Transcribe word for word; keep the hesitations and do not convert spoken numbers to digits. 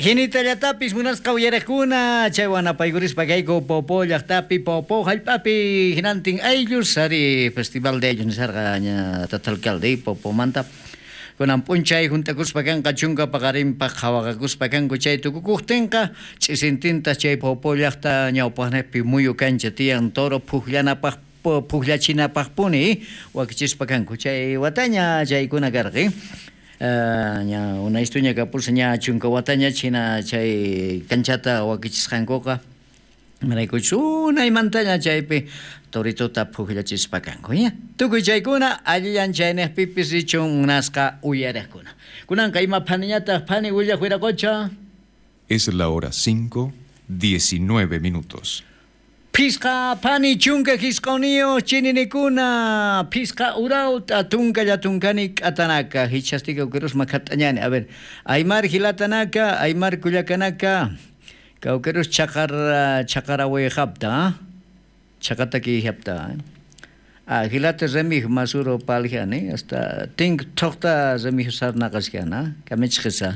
Hinitallatapis munasqa uyariqkuna chaywan apaykurispa kayku Poopó llaqtapi, Poopó hallp'api hinantin ayllus ari festival de ayllus nisarqa ña tata alcalde Poopómanta kunan p'unchay hunt'akuspa kanqa chunka paqarinpaq qhawaqakuspa kanku chay tukukuqtinqa ch'isintintas chay Poopó llaqta ñawpaqniqpi muyu kancha tiyan toro phuqllanapaq phuqllachinapaqpuni wakichispa kanku chay wataña chaykuna karqa. Ña unaystuña kapursa ña chunka wataña china chay kanchata wakichisqankuqa maraykuchus unaymantaña chaypi toritota phuqllachispa kanku ña tukuy chaykuna allillan chayniqpipis richun munasqa uyariqkuna kunanqa ima phaniñataq phani willaq wiraqocha. Es la hora cinco, diecinueve minutos. Phisqa phani chunka hisq'uniyu chininikuna phisqa urawta tunkalla tunkani k'atanaka hichastika kawkirusma khat'añani a ver Aymar hilatanaka Aymar kullakanaka kawkirus chaqar chaqarawayqapta chaqataki hapta ah hilata remij masuro paljiani hasta tink thoqta remij sarnaqasqana kamichqisa.